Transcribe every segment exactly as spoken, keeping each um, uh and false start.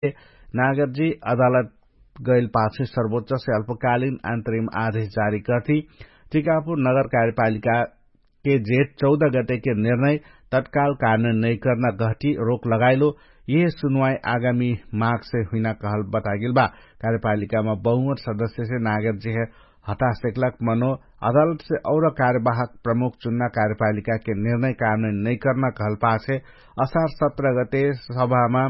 नागरजी अदालत गैल पाछे सर्वोच्चसे अल्पकालिन अन्तरिम आदेश जारी कर्ति। टिकापुर नगर कार्यपालिका के जेठ चौध गटेके निर्णय तत्काल कानून नैकर्ना गहटी रोक लगाइलो। यह सुनुवाई आगामी मागसे हुइना कहल बतागेल बा। कार्यपालिकामा बहुमत सदस्यसे नागरजी हे हटा सेक्लक मनो अदालतसे और कार्यवाहक प्रमुख चुन्ना कार्यपालिकाके निर्णय कानून नैकर्ना कहल पाछे असार सत्र गटे सभामा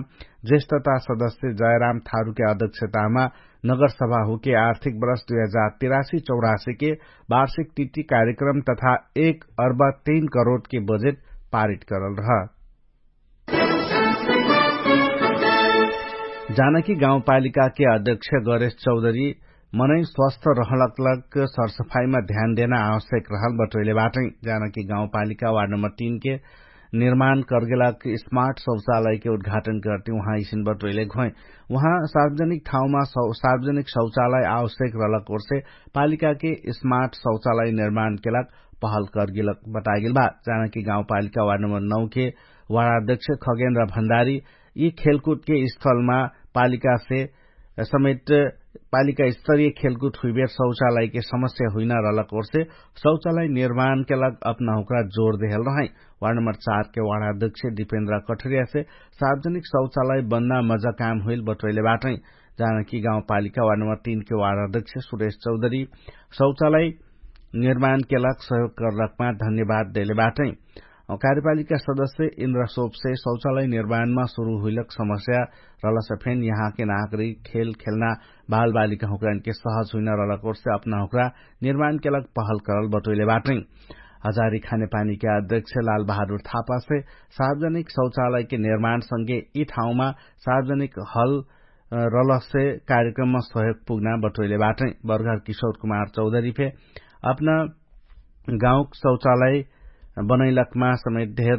ज्येष्ठता सदस्य जयराम थारुके अध्यक्षतामा नगरसभा हुके आर्थिक बरस दुई हजार तिरासी चौरासीके वार्षिक तिथि कार्यक्रम तथा एक अर्ब तीन करोडके बजेट पारित करल रह। जानकी गाउँपालिकाके अध्यक्ष गरेश चौधरी मनै स्वस्थ रहलक लक सरसफाइमा ध्यान देना आवश्यक रहल बटोइले बाटै। जानकी गाउँपालिका वार्ड नम्बर तीनके निर्माण करगेलक स्मार्ट शौचालयके उद्घाटन करती उहाँ इसिन बटोइले घोइ। उहाँ सार्वजनिक ठाउँमा सार्वजनिक शौचालय आवश्यक रहलक ओर्से पालिकाके स्मार्ट शौचालय निर्माणके लक पहल करगेलक बतागेल बा। जानकी गाउँपालिका वार्ड नम्बर नौके वार्ड अध्यक्ष खगेन्द्र भण्डारी यि खेलकुदके स्थलमा पालिकासे समेत पालिका स्तरीय खेलकुद हुइबेर शौचालयके समस्या हुइना रहलक ओर्से शौचालय निर्माणके लग अपना हुक्रा जोर देहल रहै। वार्ड नम्बर चारके वार्ड अध्यक्ष दिपेन्द्र कठरियासे सार्वजनिक शौचालय बन्ना मजा काम हुइल बटोइले बाटै। जानकी गाउँपालिका वार्ड नम्बर तीनके वार्ड अध्यक्ष सुरेश चौधरी शौचालय निर्माणके लग सहयोग करलकमा धन्यवाद देले बाटै। कार्यपालिका सदस्य इन्द्र सोपसे शौचालय निर्माणमा सुरु हुइलक समस्या रहलसे फेन यहाँके नागरिक खेल खेल्ना बालबालिका हुक्रानके सहज हुइना रहलक ओर्से अपना हुक्रा निर्माणके लग पहल करल बटोइले बाटै। हजारी खानेपानीके अध्यक्ष लाल बहादुर थापासे सार्वजनिक शौचालयके निर्माणसँगे यि ठाउँमा सार्वजनिक हल रलसे कार्यक्रममा सहयोग पुग्ना बटोइले बाटै। बर्गर किशोर कुमार चौधरी फे अपना गाउँक शौचालय बनैलकमा समेत धेर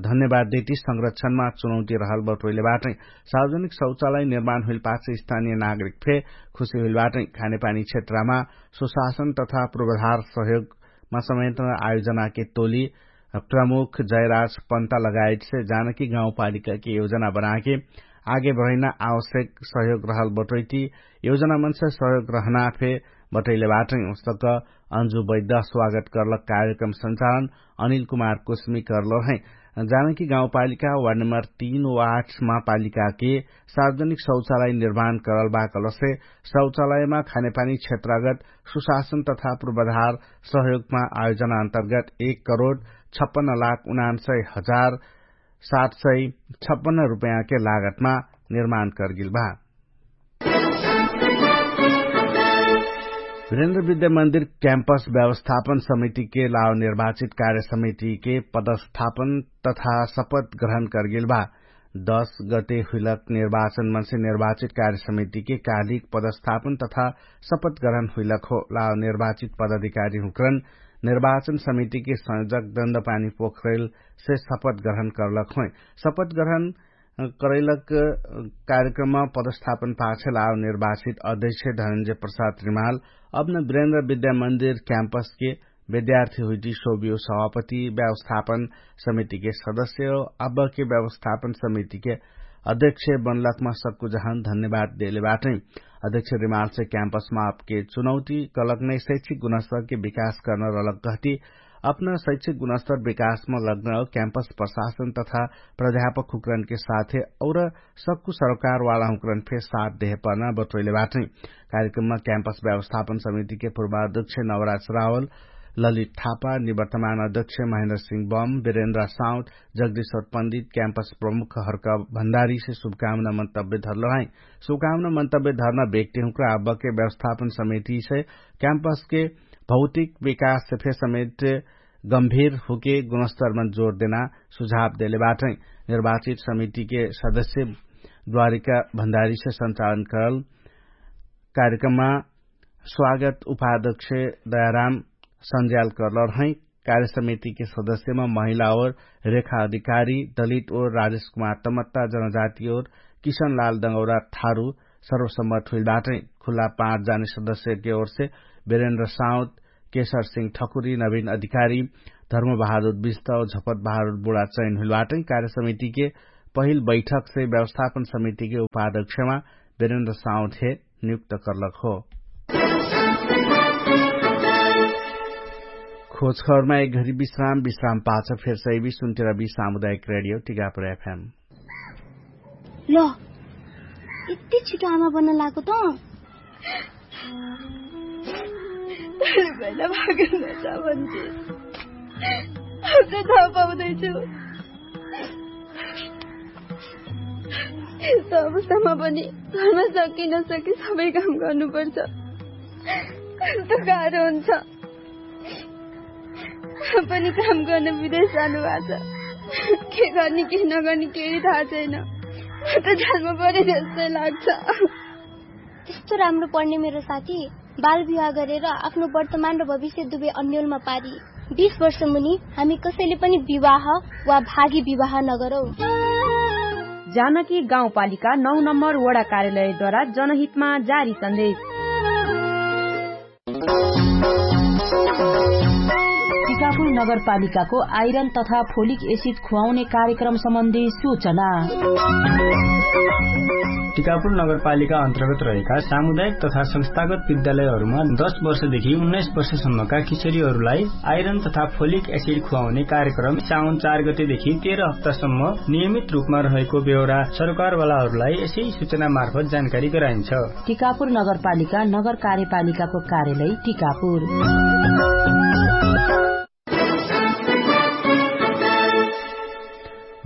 धन्यवाद देती संरक्षणमा चुनौती रहल बटोइले बाटै। सार्वजनिक शौचालय निर्माण हुइल पाछे स्थानीय नागरिक फे खुशी हुइल बाटै। खानेपानी क्षेत्रमा सुशासन तथा पूर्वाधार सहयोगमा समेत आयोजनाके टोली प्रमुख जयराज पन्ता लगायतसे जानकी गाउँपालिकाके योजना बनाके आगे बढैना आवश्यक सहयोग रहल बटोइती योजना मनसे सहयोग रहना फे बटैले बाटै। उस्तक अन्जु वैद्ध स्वागत करलक कार्यक्रम संचालन अनिल कुमार कुस्मी करलो है। जानकी गाउँपालिका वार्ड नम्बर तीन वार्ड महापालिकाके सार्वजनिक शौचालय निर्माण करल बा कलसे शौचालयमा खानेपानी क्षेत्रगत सुशासन तथा पूर्वाधार सहयोगमा आयोजना अन्तर्गत एक करोड छप्पन्न लाख उनान्सय हजार सात सय छप्पन्न रुपैयाँके लागतमा निर्माण करगेल बा। वीरेन्द्र विद्या मन्दिर क्याम्पस व्यवस्थापन समितिके लाव निर्वाचित कार्य समितिके पदस्थापन तथा शपथ ग्रहण करगेल बा। दश गते हुइलक निर्वाचन मनसे निर्वाचित कार्य समितिके कालिक पदस्थापन तथा शपथ ग्रहण हुइलक हो। लाव निर्वाचित पदाधिकारी हुक्रन निर्वाचन समितिके संयोजक दण्डपानी पोखरेलसे शपथ ग्रहण करलक होइ। शपथ ग्रहण करैलक कार्यक्रममा पदस्थापन पाछे लाव निर्वाचित अध्यक्ष धनन्जय प्रसाद रिमाल अपना वीरेन्द्र विद्या मन्दिर क्याम्पसके विद्यार्थी हुइटी सोबियो सभापति व्यवस्थापन समितिके सदस्य हो। अब्बके व्यवस्थापन समितिके अध्यक्ष बनलकमा सक्कु जहान धन्यवाद देले बाटै। अध्यक्ष रिमालसे क्याम्पसमा आपके चुनौती कलक नै शैक्षिक गुणस्तरके विकास कर्न रहलक कहती अपना शैक्षिक गुणस्तर विकासमा लग्न क्याम्पस प्रशासन तथा प्राध्यापक हुक्रनके साथे और सक्कु सरोकारवाला हुक्रन फे साथ देहे पर्ना बटोइले बाटै। कार्यक्रममा क्याम्पस व्यवस्थापन समितिके पूर्वाध्यक्ष नवराज रावल, ललित थापा, निवर्तमान अध्यक्ष महेन्द्र सिंह बम, वीरेन्द्र साउथ, जगदीश्वर पण्डित क्याम्पस प्रमुख हर्क भण्डारीसे शुभकामना मन्तव्य धरलो है। शुभकामना मन्तव्य धरना व्यक्ति हुक्रा अब्बके व्यवस्थापन समितिसे क्याम्पसके भौतिक विकाससे फे समेत गम्भीर हुके गुणस्तरमन जोर देना सुझाव देले बाटै। निर्वाचित समितिके सदस्य द्वारिका भण्डारीसे संचालन करल कार्यक्रममा स्वागत उपाध्यक्ष दयाराम संज्याल करलर है। कार्य समितिके सदस्यमा महिला और रेखा अधिकारी दलित और राजेश कुमार तमत्ता जनजाति और किशनलाल दङ्गौरा थारु सर्वसम्मत हुइल बाटै। खुल्ला पाँच जाने सदस्यके ओरसे वीरेन्द्र साउद, केशर सिंह ठकुरी, नवीन अधिकारी, धर्म बहादुर बिस्त और झपत बहादुर बुढा चयन हुइल बाटै। कार्य समितिके पहिल बैठकसे व्यवस्थापन समितिके उपाध्यक्षमा बेरेन्द्र साउथे नियुक्त कर्लक हो। खोजखबरमा एक घरी विश्राम विश्राम पाछ फेर सैबी सुन्तिरबी सामुदायिक रेडियो टिकापुर एफएम। ल, यति छिटो आमा बन्न लागो त? पहिला भागेन त भन्थे। अब त थाहा पाउँदैछु। यस्तो अवस्थामा पनि घरमा सकी नसकी सबै काम गर्नुपर्छ। कस्तो गाह्रो हुन्छ। पनि काम गर्न विदेश जानुभएको छ। के गर्ने के नगर्ने केही थाहा छैन। म त जान्नु पर्यो जस्तै लाग्छ। त्यस्तो राम्रो पढ्ने मेरो साथी बाल विवाह गरेर आफ्नो वर्तमान र भविष्य दुवै अन्यलमा पारी। बिस वर्ष मुनि हामी कसैले पनि विवाह वा भागी विवाह नगरौँ। जानकी गाउँपालिका नौ नम्बर वडा कार्यालयद्वारा जनहितमा जारी सन्देश। टिकापुर नगरपालिकाको आइरन तथा फोलिक एसिड खुवाउने कार्यक्रम सम्बन्धी सूचना। टिकापुर नगरपालिका अन्तर्गत रहेका सामुदायिक तथा संस्थागत विद्यालयहरूमा दस वर्षदेखि उन्नाइस वर्षसम्मका किशोरीहरूलाई आइरन तथा फोलिक एसिड खुवाउने कार्यक्रम साउन चार गतेदेखि तेह्र हप्तासम्म नियमित रूपमा रहेको बेहोरा सरकारवालाहरूलाई यसै सूचना मार्फत जानकारी गराइन्छ। टिकापुर नगरपालिका नगर कार्यपालिकाको कार्यालय टिकापुर।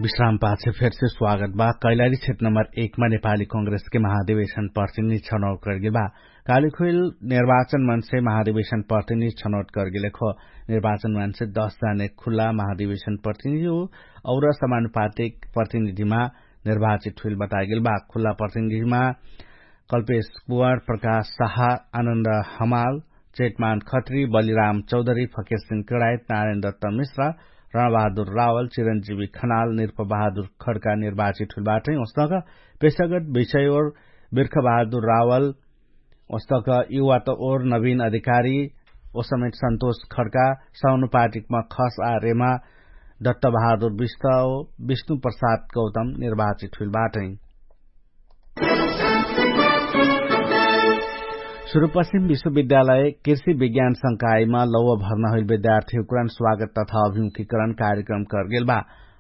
विश्राम पाछे फेरसे स्वागत बा। कैलाली क्षेत्र नम्बर एक मा नेपाली कांग्रेसके महाधिवेशन प्रतिनिधि छनौट करगेल बा। कालिखोइल निर्वाचन मन्से महाधिवेशन प्रतिनिधि छनौट करगेल खो। निर्वाचन मन्से दस जाने खुल्ला महाधिवेशन प्रतिनिधि हो और समानुपातिक प्रतिनिधिमा निर्वाचित हुइल बतागेल बा। खुल्ला प्रतिनिधिमा कल्पेश कुवार, प्रकाश साहा, आनन्द हमाल, चेतमान खत्री, बलिराम चौधरी, फकेसिन केडायत, नारायण दत्त मिश्रा, रणबहादुर रावल, चिरन्जीवी खनाल, निर्प बहादुर खड्का निर्वाचित हुइल बाटै। ओस्तक पेशागत विषय ओर बिर्ख बहादुर रावल, ओस्तक युवा त ओर नवीन अधिकारी, ओसमेट सन्तोष खड्का, साउनुपाटिकमा खस आ रेमा दत्त बहादुर विष्ट, विष्णु प्रसाद गौतम निर्वाचित हुइल बाटै। सुरुपश्चिम विश्वविद्यालय कृषि विज्ञान संकायमा लौव भर्ना हुइल विद्यार्थी हुकरन स्वागत तथा अभिमुखीकरण कार्यक्रम करगेल बा।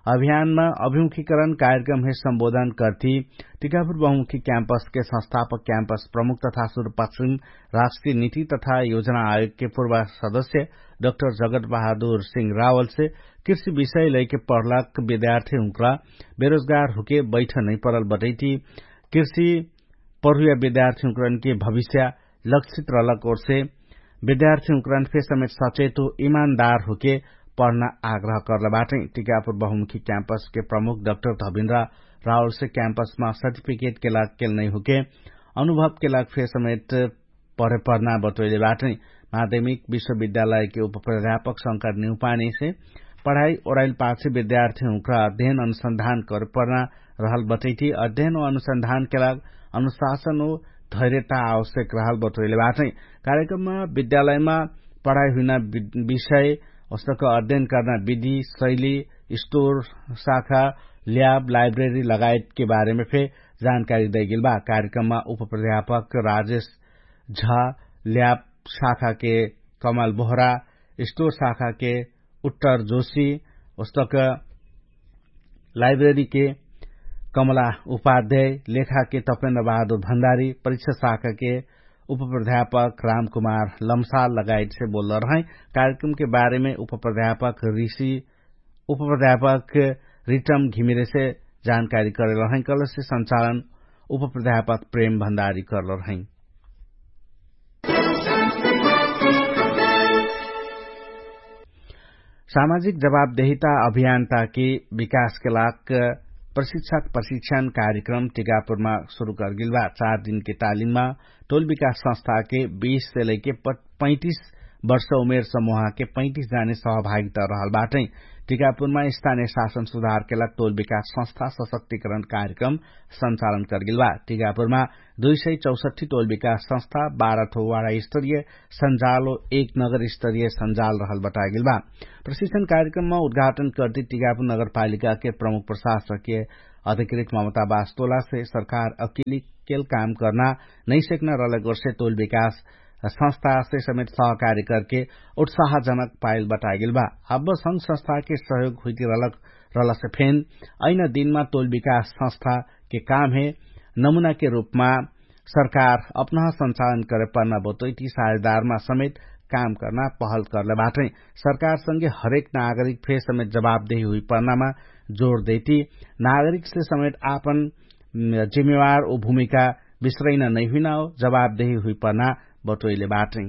अभियानमा अभिमुखीकरण कार्यक्रम हे सम्बोधन करती टिकापुर बहुमुखी क्याम्पसके संस्थापक क्याम्पस प्रमुख तथा सुरुपश्चिम राष्ट्रिय नीति तथा योजना आयोगके पूर्व सदस्य डक्टर जगत बहादुर सिंह रावलसे कृषि विषय लैके पढलक विद्यार्थी हुकरा बेरोजगार हुके बैठ नै परल बटैती कृषि पढुया विद्यार्थी हुकरनके भविष्य लक्षित रहलक ओरसे विद्यार्थी हुकरन फे समेत सचेत हो इमानदार हुके पढना आग्रह करल बाटै। टिकापुर बहुमुखी क्याम्पसके प्रमुख डक्टर धबिन्द्र रावलसे क्याम्पसमा सर्टिफिकेटके लाग केल नै हुके अनुभवके लाग फे समेत पढे पढना बटोइले बाटै। माध्यमिक विश्वविद्यालयके उपप्राध्यापक शंकर निउपानीसे पढाइ ओराइल पाछे विद्यार्थी हुकरा अध्ययन अनुसन्धान करे पढना रहल बटैती अध्ययन ओ अनुसन्धानके लाग अनुशासन ओ धैर्यता आवश्यक रहल बटोइले बाटै। कार्यक्रममा विद्यालयमा पढाइ हुइना विषय ओस्तक अध्ययन कर्ना विधि शैली स्टोर शाखा ल्याब लाइब्रेरी लगायतके बारेमे फे जानकारी दैगेल बा। कार्यक्रममा उपप्राध्यापक राजेश झा, ल्याब शाखाके कमल बोहरा, स्टोर शाखाके उत्तर जोशी, ओस्तक लाइब्रेरीके कमला उपाध्याय, लेखाके तपेन्द्र बहादुर भण्डारी, परीक्षा शाखाके उपप्राध्यापक रामकुमार लम्साल लगायतसे बोल्ल रहै। कार्यक्रमके बारेमे उपप्राध्यापक ऋषि उपप्राध्यापक रिटम घिमिरेसे जानकारी करल रहै। कलसे सञ्चालन उपप्राध्यापक प्रेम भण्डारी करल रहै। सामाजिक जवाबदेहिता अभियानताके विकासके लाग प्रशिक्षक प्रशिक्षण कार्यक्रम टिकापुरमा सुरु करगेल बा। चार दिनके तालिममा टोल विकास संस्थाके बीस से लैके पैतिस वर्ष उमेर समूहके पैतिस जाने सहभागिता रहल बाटै। टिकापुरमा स्थानीय शासन सुधारके लाग टोल विकास संस्था सशक्तिकरण कार्यक्रम सञ्चालन करगेल बा। टिकापुरमा दुई सय चौसठी टोल विकास संस्था बाह्र ठो वाडा स्तरीय सञ्जाल ओ एक नगर स्तरीय सञ्जाल रहल बतागेल बा। प्रशिक्षण कार्यक्रममा उद्घाटन करती टिकापुर नगरपालिकाके प्रमुख प्रशासकके अधिकृत ममता बास्तोलासे सरकार अकिली केल काम कर्ना नैसेक्न रलक वर्षे तोल विकास संस्थासे समेत सहकारी करके उत्साहजनक पाइल बटागेल बा। अब संग संस्थाके सहयोग हुइति रलक रलसे फेन अइन दिनमा तोल विकास संस्थाके कामहे नमुनाके रूपमा सरकार अपनह सञ्चालन करे पर्ना बतोइति साझेदारमा समेत काम कर्ना पहल कर्ले बाटै। सरकारसँगे हरेक नागरिक फे समेत जवाबदेही हुइपर्नामा जोर देइति नागरिकसे समेत आपन जिम्मेवार उ भूमिका बिस्रैना नैहुइना हो जवाबदेही हुइपर्ना बटोइले बाटै।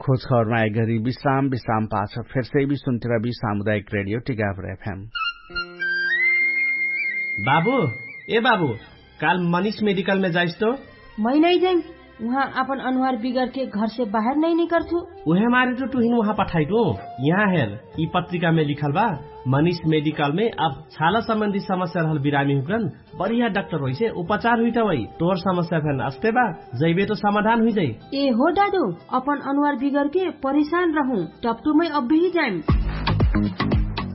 खोज खबरमा एक घरी विश्राम विश्राम पाछ फेरसे भी सुन्तिरा भी सामुदायिक रेडियो टिकापुर एफएम। बाबु, ए बाबु, काल मनिष मेडिकलमे जाइस तो? मै नै जाइम। उहाँ आपन अनुहार बिगरके घरसे बाहेर नै निकर्छु। उहे मारे तो टुहिन उहाँ पठाइटु। यहाँ हेर, यि पत्रिकामे लिखल बा, मनिष मेडिकलमे अब छाला सम्बन्धी समस्या रहल बिरामी हुकरन बढिया डाक्टर होइसे उपचार हुइटा वै। तोर समस्या फेन अस्ते बा, जैबे तो समाधान हुइजाइ। ए हो डाडु, अपन अनुहार बिगरके परिशान रहु, टपटुमै अब्बेही जाइम।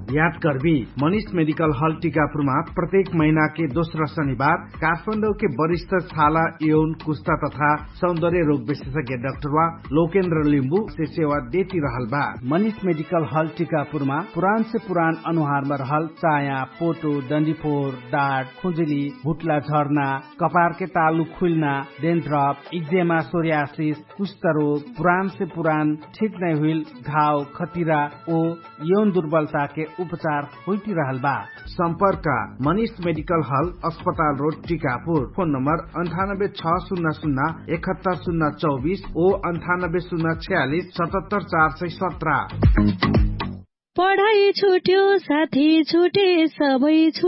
याद कर्बी, मनिष मेडिकल हल टिकापुरमा प्रत्येक महिनाके दोस्रा शनिबार काठमाडौके वरिष्ठ छाला यौन कुस्ता तथा सौन्दर्य रोग विशेषज्ञ डाक्टरवा लोकेन्द्र लिम्बुसे सेवा देति रहल बा। मनिष मेडिकल हल टिकापुरमा पुरानसे पुरान अनुहारमा रहल चाया, पोटो, डन्डिफोर, डाट, खुजुली, भुट्ला झर्ना, कपारके तालु खुइल्ना, डेन्ड्रप, इक्जेमा, सोर्यासिस, कुष्ठरोग, पुरानसे पुरान ठिक नै हुइल घाव, खतिरा ओ यौन दुर्बलताके उपचार हुइटिरहल बा। सम्पर्क, मनिष मेडिकल हल, अस्पताल रोड, टिकापुर। फोन नम्बर अन्ठानब्बे छ सुन्ना सुन्ना एकहत्तर सुन्ना चौबिस ओ अन्ठानब्बे सुन्ना छयालिस सतहत्तर चार सय सत्र। पढाइ छुट्यो साथी छुटे सबै